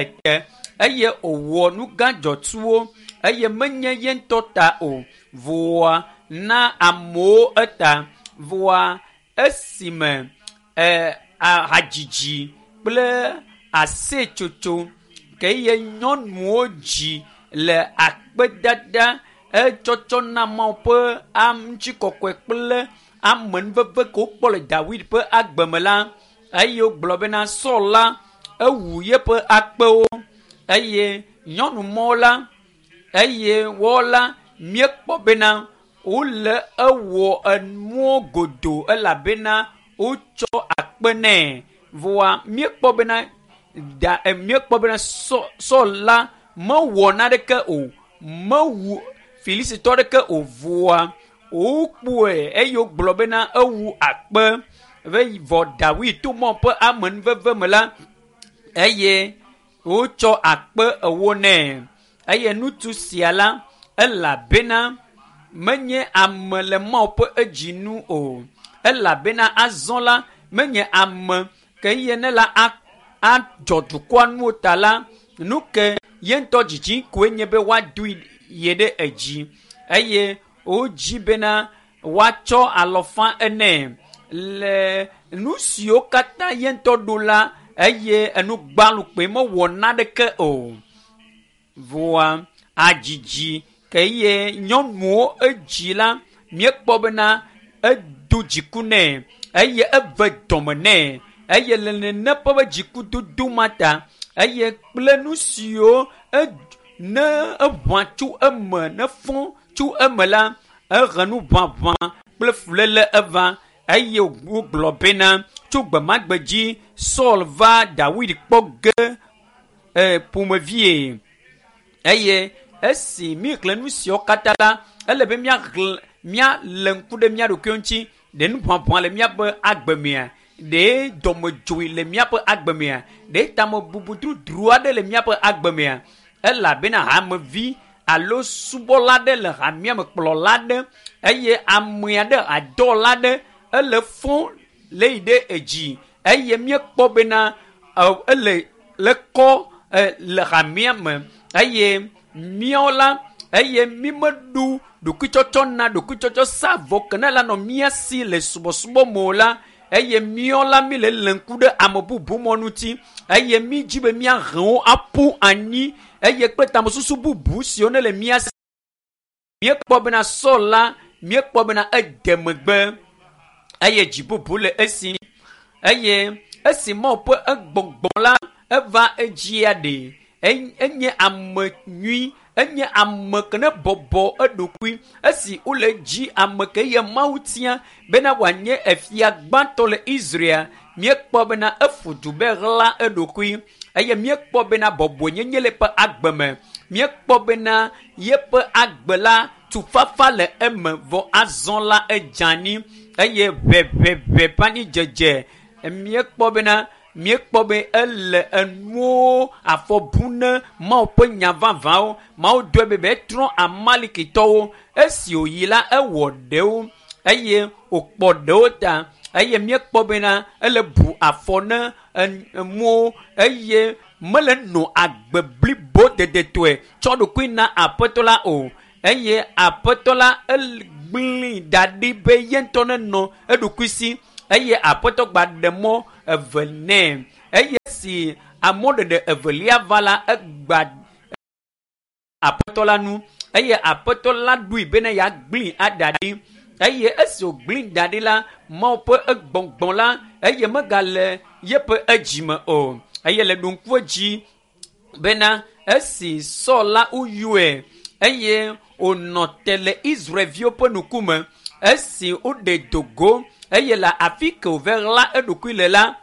Ete eye wòwɔ nu gã dzɔtsuwo eye menye ye ŋutɔ ta o. Vɔa na amewo eta. Vɔa esime e hadzidzi kple aseyetsotso ke ye nyɔnuwo dzi le akpedada etsɔtsɔ na Mawu ƒe ŋutikɔkɔe kple amenuveve ke wokpɔ le Dawid ƒe agbe me la, eye wogblɔ bena Saul la ewu yeƒe akpewo eye nyɔnu mɔwo la eye woawo la míekpɔ bena wole ewɔ enuwo godo elabena wotsɔ akpe nɛ. Vɔa míekpɔ bena da míekpɔ bena Saul la mewɔ naneke o, mewu Filistitɔ ɖeke o. Vɔa wokpɔe eye wogblɔ bena ewu akpe vɔ Dawid to Mawu ƒe amenuveve me la eye wotsɔ akpe ewo nɛ. Eye ŋutsu sia la elabena menye ame le Mawu ƒe edzi nu o. Elabena azɔ la menye ame ke ye ne la adzɔ dukɔa nuwo ta la nu ke ye ŋutɔ dzidzi koe nye be woadoe ye ɖe edzi eye wodzi bena woatsɔ alɔfa ene le nu siwo katã ye ŋutɔ ɖo la eye enu gbalukpe mewɔ naneke o. Vɔa adzidzi ke ye nyɔnuwo edzi la míekpɔ bena edo dziku nɛ eye eve dɔme nɛ eye le nene ƒe be dzikudodo ma ta eye kple nu siwo ne eʋã tso eme ne fɔ tso eme la ehe nu ʋaʋã kple fuléle eva eye wogblɔ bena tso gbemagbe dzi Saul va Dawid kpɔ ge ƒomevie eye esi míexlẽ nu siawo katã la ele be míaxlẽ míalé ŋku ɖe mía ɖokuiwo ŋuti ɖe nu ʋaʋã le míaƒe agbe mea ɖe dɔmedzoe le míaƒe agbe mea ɖe tamebubu drodro aɖe le míaƒe agbe mea elabena hamevi alo subɔla aɖe le hamea me kplɔla aɖe eye ame aɖe adɔla aɖe ele fɔ le yi ɖe edzi eye míekpɔ bena ele le kɔ le hamea me eye míawo la eye mímeɖu ɖokuitsɔtsɔ na ɖokuitsɔtsɔ sa vɔ ke ne la nɔ mía si le subɔsubɔ me o la eye míawo la mí le lé ŋku ɖe ame bubu mɔ ŋuti eye mí dzi be míahe wo aƒu anyi eye kple tamesusu bubu siwo ne le mía si. Míekpɔ bena Saul la míekpɔ bena ede megbe eye dzi bubu le esi eye esi Mawu ƒe egbɔgbɔ la eva edzia ɖe enye ame nyui enye ame ke ne bɔbɔ eɖokui esi wole dzi ame ke ye Mawu tia bena wòanye efia gbãtɔ le Israel míekpɔ bena efu du be ɣla eɖokui eye míekpɔ bena bɔbɔenyenye le eƒe agbe me míekpɔ bena yeƒe agbe la tufafa le eme vɔ azɔ la edze anyi eye ʋeʋeʋe ƒe anyidzedze míekpɔ bena míekpɔ be ele enuwo afɔ bu ne Mawu ƒe nya vavãwo Mawu dɔe be be trɔ Amalikitɔwo esi wòyi la ewɔ ɖewo eye wòkpɔ ɖewo ta eye míekpɔ bena ele bu afɔ ne enuwo eye mele nɔ agbe blibo dedetɔe tsɔ ɖokui na aƒetɔ la o eye aƒetɔ la egblẽe da ɖi be ye ŋutɔ nenɔ eɖokui si eye aƒetɔ gba ɖe mɔ eve nɛ eye si amɔɖeɖe evelia va la egba aƒetɔ la nu eye aƒetɔ la ɖoe bena yeagblẽe ada ɖi eye esi wògblẽe da ɖi la Mawu ƒe egbɔgbɔ la eye megale yeƒe edzime o eye le ɖo ŋku edzi bena esi Saul la woyɔe eye wònɔ te le Israelviwo ƒe ŋkume esi woɖe dogo eye le afi ke wòva ɣla eɖokui le la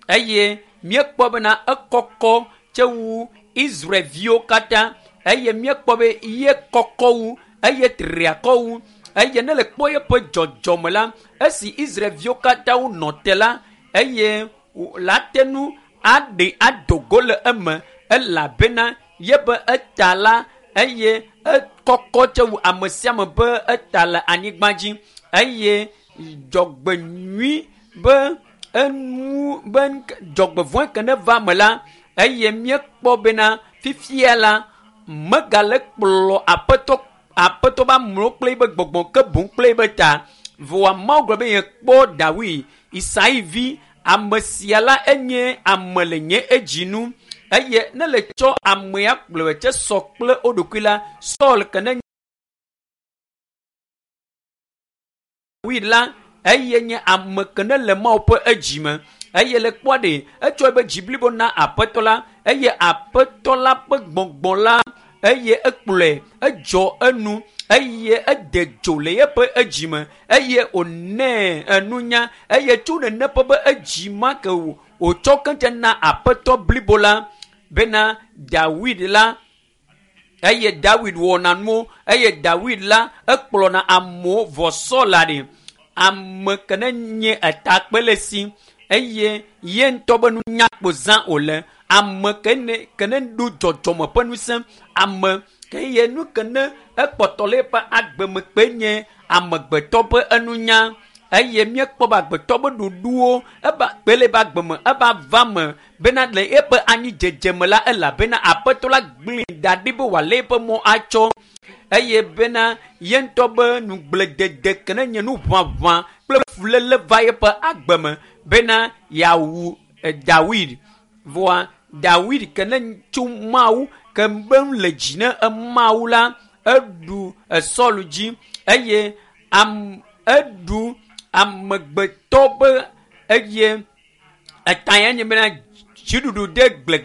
eye míekpɔ bena ekɔkɔ tse wu Israelviwo katã eye míekpɔ be ye kɔkɔ wu eye triakɔ wu eye ne le kpɔ yeƒe dzɔdzɔme la esi Israelviwo katã wonɔ te la eye la te nu aɖe adogo le eme elabena yeƒe eta la eye ekɔkɔ tse wu ame sia ame be eta le anyigba dzi eye dzɔgbenyui be enu be dzɔgbevɔ̃e ke ne va me la Eye míekpɔ bena fifia la megale kplɔ aƒetɔ aƒetɔ be amewo kple yibe gbɔgbɔ ke boŋ kple yibe ta. Vɔa Mawu gblɔ be yekpɔ Dawid, Isai vi, ame sia la enye ame le nye edzi nu. Eye ne le tsɔ amea kplɔe tse sɔ kple wo ɖokui la, Saul ke ne Dawid la, eye nye ame ke ne le Mawu ƒe edzi me. Eye le kpɔa ɖe, etsɔ ebe dzi blibo na aƒetɔ la, eye aƒetɔ la ƒe gbɔgbɔ la, eye ekplɔe, edzɔ enu, eye ede dzo le eƒe edzi me, eye wònɛ enunya, eye tso nene ƒe be edzi ma ke wòtsɔ keŋ na aƒetɔ blibo la bena Dawid la, eye Dawid wɔna nuwo, eye Dawid la ekplɔna amewo vɔ Saul la ɖe ame ke ne nye etakpe le si, eye ye ŋutɔ be nunya kpo zã wòle, ame ke ne ke ne ɖo dzɔdzɔme ƒe ŋusẽ, ame ke ye nu ke ne ekpɔtɔ le eƒe agbeme kpe nye amegbetɔ ƒe enunya, eye míekpɔ be agbetɔ ƒe ɖoɖowo eba kpe le eƒe agbeme eva va me bena le eƒe anyidzedze me la elabena aƒetɔ la gblẽe da ɖi be wòalé eƒe mɔ atsɔ, eye bena ye ŋutɔ be nugbledede ke ne nye nu ʋaʋã kple fuléle va eƒe agbeme bena yeawu Dawid. Vɔa Dawid ke ne tso Mawu ke be nu le dzi ne Mawu la, eɖu Saul dzi eye am eɖu amegbetɔ be eye eta ya nye bena dziɖuɖu ɖe gble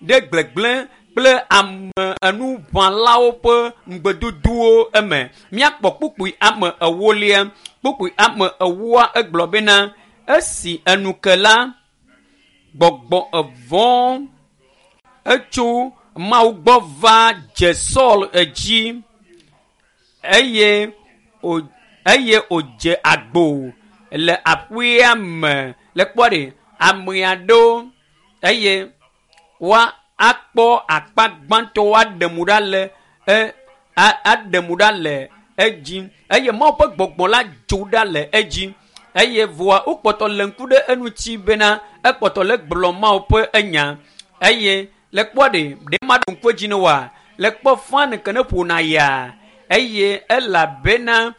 ɖe gblegblẽ kple ame enuʋãlawo ƒe ŋugbedodowo eme. Míakpɔ kpukpui ame ewolia. Kpukpui ame ewoa egblɔ bena esi enu ke la, gbɔgbɔ evɔ̃ etso Mawu gbɔ va dze Saul edzi eye wò eye wòdze agbo le aƒea me. Le kpɔ ɖe ame aɖewo eye woa akpɔ akpa gbãtɔ woaɖe mo ɖa le e aɖe mo ɖa le edzi eye Mawu ƒe gbɔgbɔ la dzo ɖa le edzi eye vɔa wokpɔtɔ le ŋku ɖe eŋuti bena ekpɔtɔ le gblɔ Mawu ƒe enya eye le kpɔ ɖe ɖe ma ɖo ŋku edzi ne woa le kpɔ fan ke ne ƒona ya eye elabena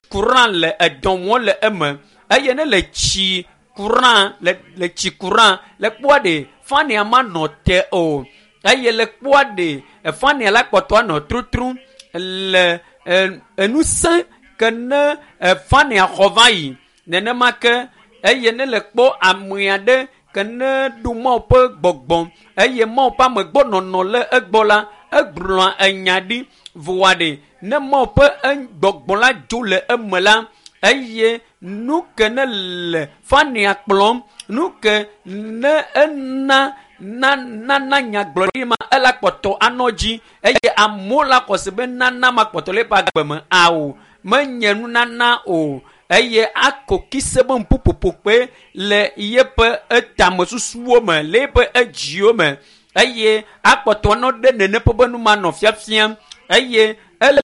courant le edɔ wɔm le eme eye ne le tsi courant le le tsi courant le kpɔa ɖe fania ma nɔ te o eye le kpɔa ɖe fania la kpɔtɔ anɔ trutrum le enusẽ ke ne fania xɔ va yi nenema ke eye ne le kpɔ ame aɖe ke ne ɖo Mawu ƒe gbɔgbɔ eye Mawu ƒe amegbɔnɔnɔ le egbɔ la, egblɔa enya ɖi vɔa ɖe ne Mawu ƒe gbɔgbɔ la dzo le eme la, eye nu ke ne le fania kplɔm, nu ke ne ena nana nyagblɔɖi ma ela kpɔtɔ anɔ dzi eye amewo la xɔ se be nana ma kpɔtɔ le eƒe agbe me ao menye nunana o eye ako kise be ŋuƒoƒo kpe le yeƒe etamesusuwo me le yeƒe edziwo me eye akpɔtɔ anɔ ɖe nene ƒe be nu ma nɔ fiafiam eye ele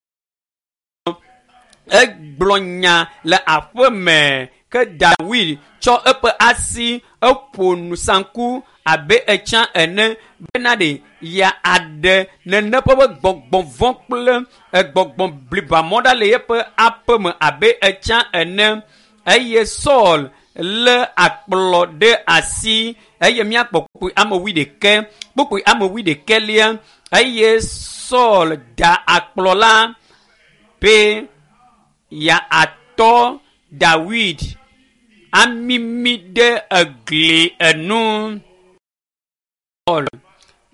egblɔ nya le aƒe me ke Dawid tsɔ eƒe asi eƒo nusanku abe etsã ene bena ɖe ya aɖe nene ƒe be gbɔgbɔ vɔ̃ kple gbɔgbɔ blibamɔ ɖa le yeƒe aƒe me abe etsã ene eye Saul lé akplɔ ɖe asi eye míakpɔ kpukpui ame wuiɖekɛ kpukpui ame wuiɖekɛlia eye Saul da akplɔ la be ya atɔ Dawid amimi ɖe egli enu. Saul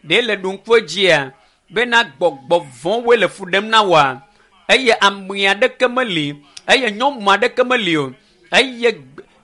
ɖe le ɖo ŋku edzia bena gbɔgbɔ vɔ̃woe le fu ɖem na woa eye ame aɖeke meli eye nyɔnu aɖeke meli o eye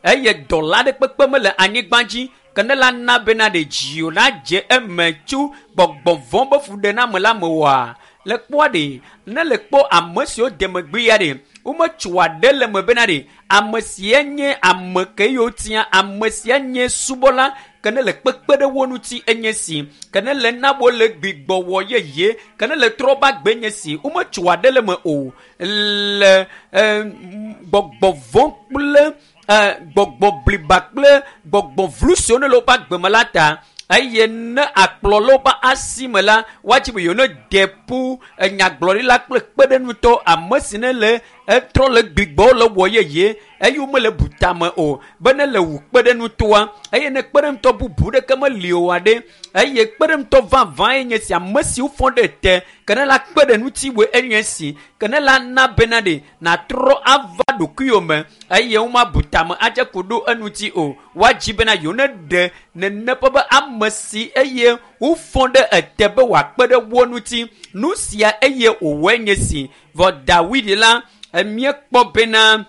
eye dɔla aɖe kpekpe mele anyigba dzi ke ne la na bena ɖe dziwò nadze eme tso gbɔgbɔ vɔ̃ be fuɖename la me oa le kpɔa ɖe ne le kpɔ ame siwo de megbe ya ɖe wometsoa ɖe le me bena ɖe ame sia nye ame ke yiwo tia ame sia nye subɔla ke ne le kpekpe ɖe wo ŋuti enye si ke ne le na wo le gbigbɔwɔ yeye ke ne le trɔ ba gbe nye si wometsoa ɖe le me o le gbɔgbɔ vɔ̃ kple gbɔgbɔ bliba kple gbɔgbɔ vlu siwo ne le woƒe agbe me la ta. Eye ne akplɔ le woƒe asi me la, woatsi be yewo ne de ƒu enyagblɔɖila kple kpeɖeŋutɔ ame si ne le etrɔ le gbigbɔ le wɔ yeye eye womele butame o be ne le wu kpeɖeŋutɔa eye ne kpeɖeŋutɔ bubu ɖeke meli oa ɖe eye kpeɖeŋutɔ vavã ye nye si ame siwo fɔ ɖe te ke ne la kpe ɖe ŋutiwòe enye si ke ne la na bena ɖe natrɔ ava ɖokuiwò me eye womabu tame adze ko ɖo eŋuti o. Woadzi bena yewo ne ɖe nene ƒe be ame si eye wofɔ ɖe ete be wòakpe ɖe wo ŋuti. Nu sia eye wòwɔe nye si. Vɔ Dawid la, míekpɔ bena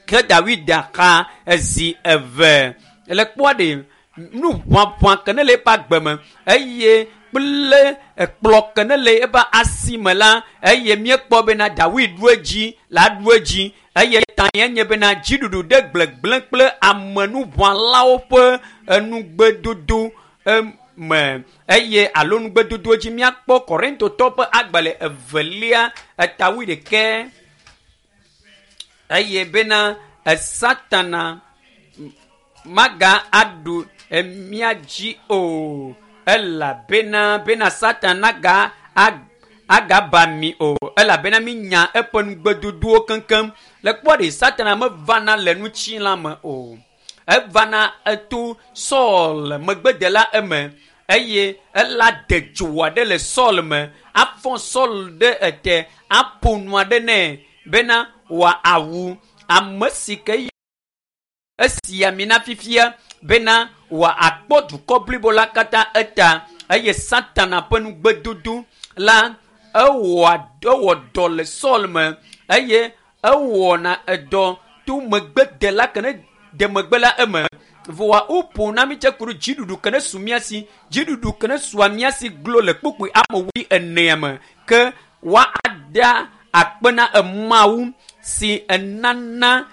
ke Dawid xa ezi eve le kpɔa ɖe nu ʋaʋã ke ne le eƒe agbe me eye kple ekplɔ ke ne le eƒe asi me la eye míekpɔ bena Dawid ɖu edzi la ɖu edzi eye ta ye nye bena dziɖuɖu ɖe gblegblẽ kple amenuʋãlawo ƒe enugbedodo me eye alo nugbedodo dzi míakpɔ Korintotɔ ƒe agbalẽ evelia eta wuiɖekɛ eye bena Satana maga aɖu mía dzi o elabena bena Satana ga agaba mi o elabena mi nya eƒe nugbedodowo keŋkeŋ. Le kpɔ ɖe Satana mevana le ŋutilã me o, evana eto Saul megbedela eme eye ela de dzo aɖe le Saul me afɔ Saul ɖe ete aƒo nu aɖe nɛ bena wòawu ame si ke esi amina fifia bena wòakpɔ dukɔ blibo la katã eta eye Satana ƒe nugbedodo la ewɔ dɔ le Saul me eye ewɔna edɔ to megbedela ke ne de megbe la eme. Vɔa woƒo na mi tse ku ɖe dziɖuɖu ke ne su mía si, dziɖuɖu ke ne sua mía si glo le kpukpui ame wui enea me ke woada akpe na Mawu si enana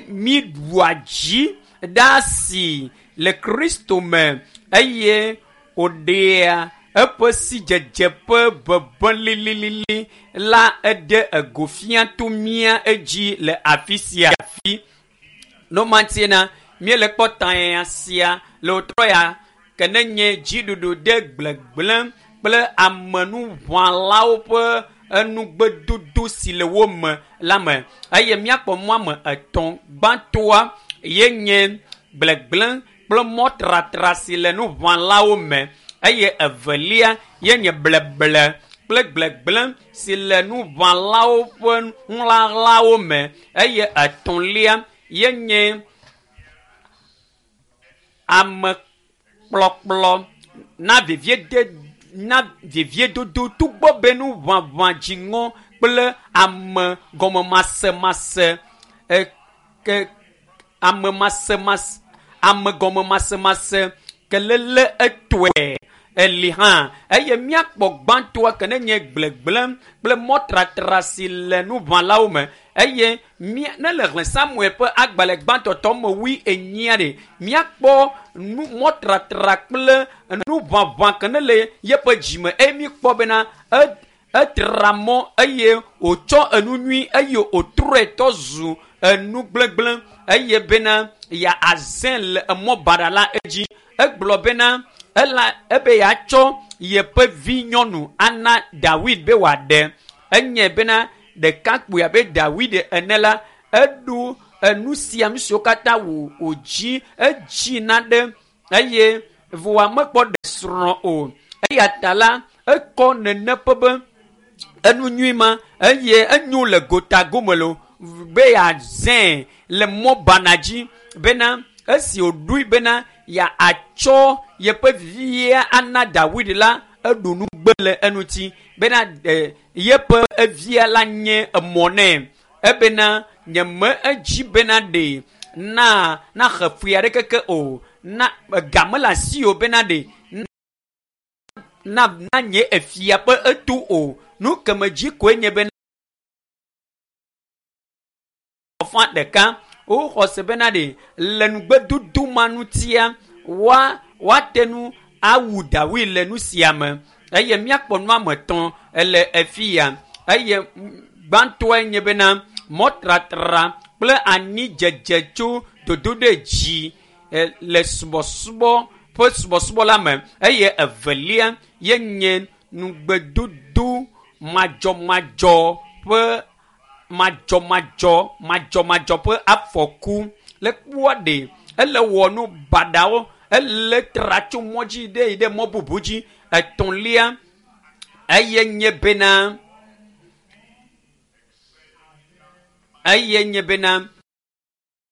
mi ɖua dzi ɖa si le Kristo me eye wòɖea eƒe sidzedze ƒe ʋeʋẽ lililili la eɖe ego fia to mía edzi le afi sia afi. Nomantiena míele kpɔ tanya sia le wotrɔ ya ke ne nye dziɖuɖu ɖe gblegblẽ kple amenuʋãlawo ƒe enugbedodo si le wo me la me eye míakpɔ mɔ ame etɔ̃. Gbãtɔa ye nye gblegblẽ kple mɔtratra si le nuʋãlawo me eye evelia ye nye bleble kple gblegblẽ si le nuʋãlawo ƒe nuɣlaɣlawo me eye etɔ̃lia ye nye amekplɔkplɔ na veviedodo togbɔ be nuʋaʋã dziŋɔ kple ame gɔmemasemase ame gɔmemasemase kelele etɔe eli hã eye míakpɔ gbãtɔa ke ne nye gblegblẽ kple mɔtratra si le nuʋãlawo me eye ne le xlẽ Samuel ƒe agbalẽ gbãtɔtɔ me wui enyia ɖe míakpɔ nu mɔtratra kple nuʋaʋã ke ne le yeƒe dzime eye míkpɔ bena etra mɔ eye wòtsɔ enu nyui eye wòtrɔe tɔ zu enu gblegblẽ eye bena ya azẽ le emɔ baɖa la edzi. Egblɔ bena ela ebe yeatsɔ yeƒe vi nyɔnu ana Dawid be wòaɖe. Enye bena ɖekakpui abe Dawid ene la eɖu enu sia nu siwo katã wòdzi edzi na ɖe eye vɔa mekpɔ ɖe srɔ̃ o. Eya ta la ekɔ nene ƒe be enu nyui ma eye enyo le gota gome lo be yeazẽ le mɔ bana dzi bena esi wòɖoe bena yeatsɔ yeƒe via ana Dawid la eɖu nugbe le eŋuti bena yeƒe evia la nye emɔ nɛ ebena nyeme edzi bena ɖe na naxe fui aɖeke ke o na ga mele asi o bena ɖe na nye efia ƒe eto o. Nu keme dzi koe nye bena fa ɖeka woxɔ se bena ɖe le nugbedodo ma ŋutia woate nu awu Dawid le nu sia me eye míakpɔ nu ame etɔ̃ le efi ya eye gbãtɔe nye bena mɔtratra kple anyidzedze tso dodoɖedzi le subɔsubɔ ƒe subɔsubɔ la me eye evelia ye nye nugbedodo madzɔmadzɔ ƒe madzɔmadzɔ madzɔmadzɔ ƒe afɔku le kpɔa ɖe ele wɔ nu baɖawo ele tra tso mɔ dzi ɖe yi ɖe mɔ bubu dzi etɔ̃lia eye nye bena eye nye bena.